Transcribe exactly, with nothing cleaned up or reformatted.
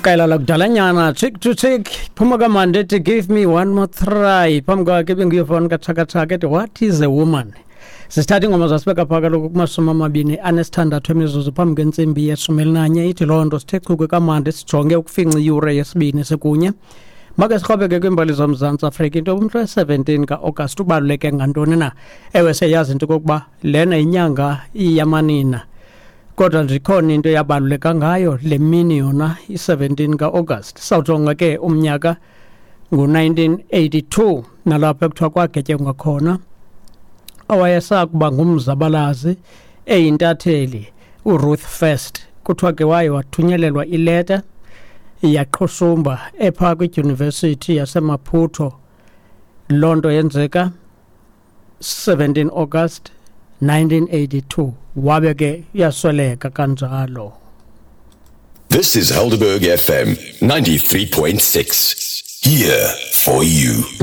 Qela lakudalanyana, Cheek to Cheek, phuma kamandi ethi "Give Me One More Try". Phambi kwakhe ibinguyofoni kaTshaka ethi "What Is a Woman". Sisithatha ingoma zasibeka phaa kaloku kumashumi amabini anesithandathu emizuzu phambi kwentsimbi yeshumi elinanye. Ithi loo nto sithe chukwe kamandi, sijonge ukufinca iyure yesibini sekunye. Make siqhobeke kwiimbali zoMzantsi Afrika, into umhla we-seventeen ka-Agasti ubaluleke ngantoni na? Ewe, siyayazi into okokuba lena yinyanga yamanina, kodwa nje ikhona into eyabaluleka ngayo le mini yona i-seventeen ka-August. Sawujonga ke umnyaka ngu-nineteen eighty-two, nalapho ekuthiwa kwagetyengwa khona owayesakuba ngumzabalazi, eyintatheli, uRuth First. Kuthiwa ke waye wathunyelelwa ileta, yaqhushumba ephaa kwidyunivesithi yaseMaputo. Loo nto yenzeka seventeen August nineteen eighty-two, wabe ke yasweleka kanjalo. This is Helderberg F M ninety-three point six. Here for you.